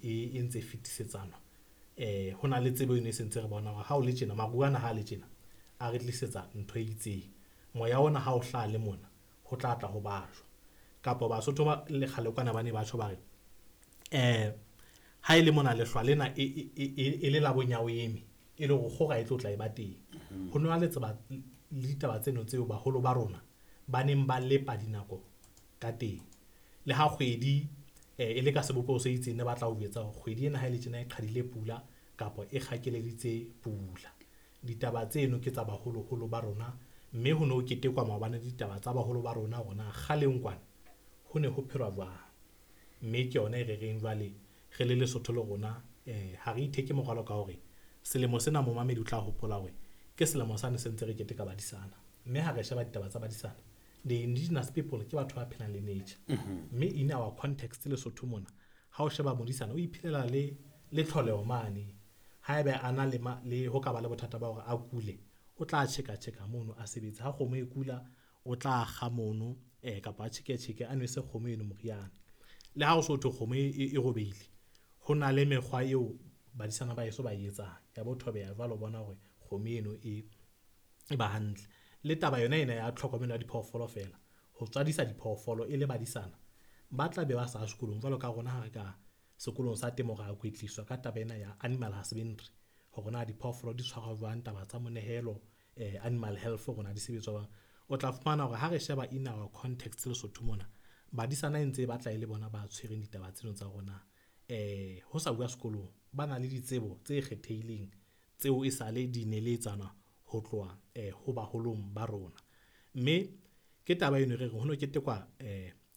e ntse fetisetsana. Ho na le tsebo eno e sentse re bona hore ha o le tjena, maru ana ha le tjena a re tlisetsa ntho e itseng. Moya ona ha o hlaha le mona ho tla tla ho bajwa. Kapa Basotho ba le kgale kwana ba ne ba tjho ba re ha e le mona lehlwa lena e le la bonya o eme, e le hore kgora e tlo tla e ba teng. Ho nwa le tseba le ditaba tseno tseo baholo ba rona ba neng ba lepa dinako ka teng. Le ha kgwedi e le ka sebopeho se itseng, ne ba tla o jwetsa hore kgwedi ena ha e le tjena e qhadile pula kapa e kgakeleditse pula. Ditaba tseno ke tsa baholoholo ba rona, mme ho no ketekwa maobane ditaba tsa baholo ba rona hore na kgaleng kwana ho ne ho phelwa jwang. Mme ke yona e re reng jwale re le Lesotho le rona, ha re itheke morwalo ka hore selemo sena momamedi o tla hopola hore ke selemo sane se ntse re keteka badisana. Mme ha re sheba ditaba tsa badisana, the indigenous people ke batho ba phelang le nature. Mme in our context Lesotho mona, ha o sheba modisana o iphelela le tlholeho mane. Haebe a na le ho ka ba le bothata ba hore a kule, o tla tjheka tjheka mono a sebetse. Ha kgomo e kula, o tla kga mono, kapa a tjheke tjheke a nwese kgomo eno moriana. Le ha o so thwe kgomo e robehile, ho na le mekgwa eo badisana ba heso ba e etsang ya bo thobeha jwalo, bona hore kgomo eno e ba hantle. Le taba yona ena ya tlhokomelo ya diphoofolo feela, ho tswadisa diphoofolo e le badisana ba tla be ba sa sekolong jwalo ka rona ha re ka sekolong sa temo ra kwetliswa ka taba ena ya animal husbandry, hore na diphoofolo di tshwarwa jwang, taba tsa monehelo, animal health hore na di sebetswa jwang. O tla fumana hore ha re sheba in our context Lesotho mona, badisana e ntse e batla e le bona ba tshwereng ditaba tseno tsa rona. Ho sa bua sekolong, ba na le ditsebo tse kgethehileng tseo e sale di neletsana ho tloha ho baholong ba rona. Mme ke taba eno re reng ho no ketekwa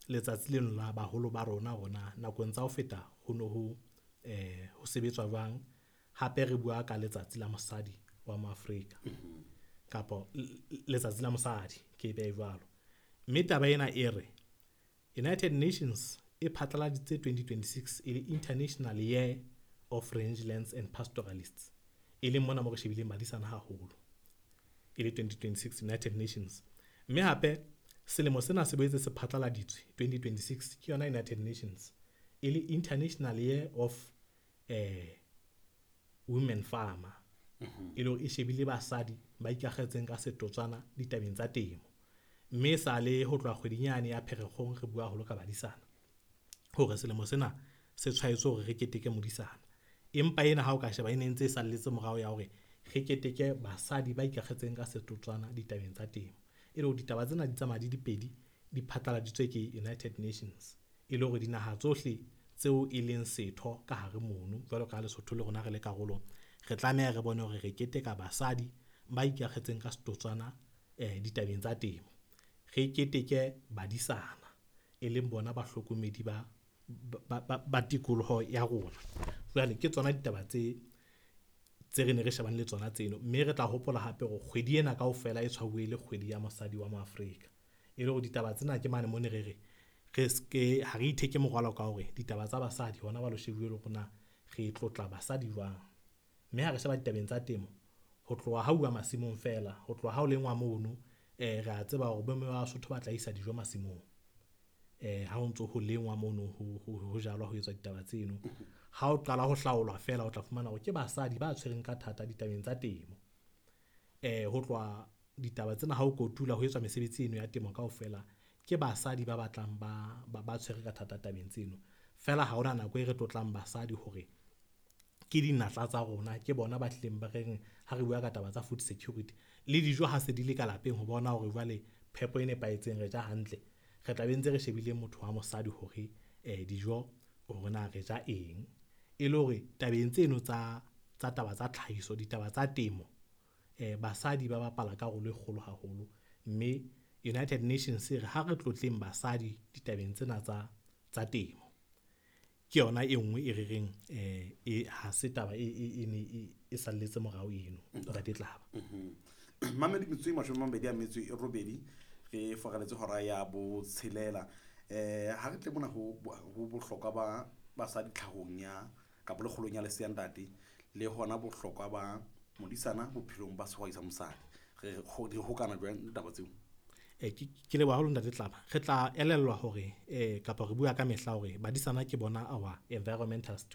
letsatsi leno la baholo ba rona hore na nakong tsa ho feta ho no ho sebetswa jwang. Hape re bua ka letsatsi la mosadi wa Moafrika kapa letsatsi la mosadi, ke e behe jwalo. Mme taba ena e re United Nations e phatlaladitse 2026 e le International Year of Rangelands and Pastoralists, e leng mona mo re shebileng badisana haholo, e le 2026 United Nations. Mme hape selemo sena se boetse se phatlaladitswe 2026 ke yona United Nations e le International Year of Women Farmer, e le hore e shebile basadi ba ikakgetseng ka setotswana ditabeng tsa temo. Mme sale ho tloha kgweding yane ya Pherekgong re bua haholo ka badisana hore selemo sena se tshwaetswe hore re keteke modisana. Empa ena ha o ka sheba e ne ntse e salletse morao ya hore re keteke basadi ba ikakgetseng ka setotswana ditabeng tsa temo. E le hore ditaba tsena di tsamaya di dipedi, di phatlaladitswe ke United Nations, e le hore dinaha tsohle tseo e leng setho ka hare mono, jwalo ka Lesotho le rona re le karolo, re tlameha re bone hore re keteka basadi ba ikakgetseng ka setotswana ditabeng tsa temo. Re keteke badisana e leng bona bahlokomedi ba tikoloho ya rona. Jwale ke tsona ditaba tse re ne re shebane le tsona tseno. Mme re tla hopola hape hore kgwedi ena kaofela e tshwauwe le kgwedi ya mosadi wa Moafrika. E le hore ditaba tsena ke mane mo ne re re re ske ha re itheke morwalo ka hore ditaba tsa basadi hona ba lo shebuwe le rona re tlotla basadi jwang. Mme ha re sheba ditabeng tsa temo, ho tloha ha uwa masimong feela, ho tloha ha o lengwa mono, re a tseba hore bomme ba Basotho ba tla isa dijo masimong. Ha ho ntso ho lengwa mono, ho jalwa, ho etswa ditaba tseno. Ha o qala ho hlaolwa feela, o tla fumana hore ke basadi ba tshwereng ka thata ditabeng tsa temo. Ho tloha ditaba tsena ha o kotula ho etswa mesebetsi eno ya temo kaofela, ke basadi ba batlang ba tshwere ka thata tabeng tseno. Feela ha hona nako e re tlotlang basadi hore ke dinatla tsa rona, ke bona ba tlileng ba reng ha re bua ka taba tsa food security le dijo ha se di le ka lapeng, ho bona hore jwale phepo e nepahetseng re ja hantle, re tla be ntse re shebile motho wa mosadi hore dijo hore na re ja eng. E le hore tabeng tseno tsa taba tsa tlhahiso, ditaba tsa temo, basadi ba bapala karolo e kgolo haholo. Mme United Nations e re ha re tlotleng basadi ditabeng tsena tsa temo. Ke yona e nngwe e re reng ha se taba e e salletse morao eno, Ntate Tlaba. Mamedi metsotso e 28 re foraletse hora ya 6. Ha re tle mona ho bohlokwa ba basadi tlhahong ya kapa le kgolong ya lesea ntate, le hona bohlokwa ba modisana bophelong ba sehwai sa mosadi. Re di hokana jwang ditaba tseo? Ke leboha haholo Ntate Tlaba. Re tla elellwa hore kapa re bua ka mehla hore badisana ke bona our environmental stewards.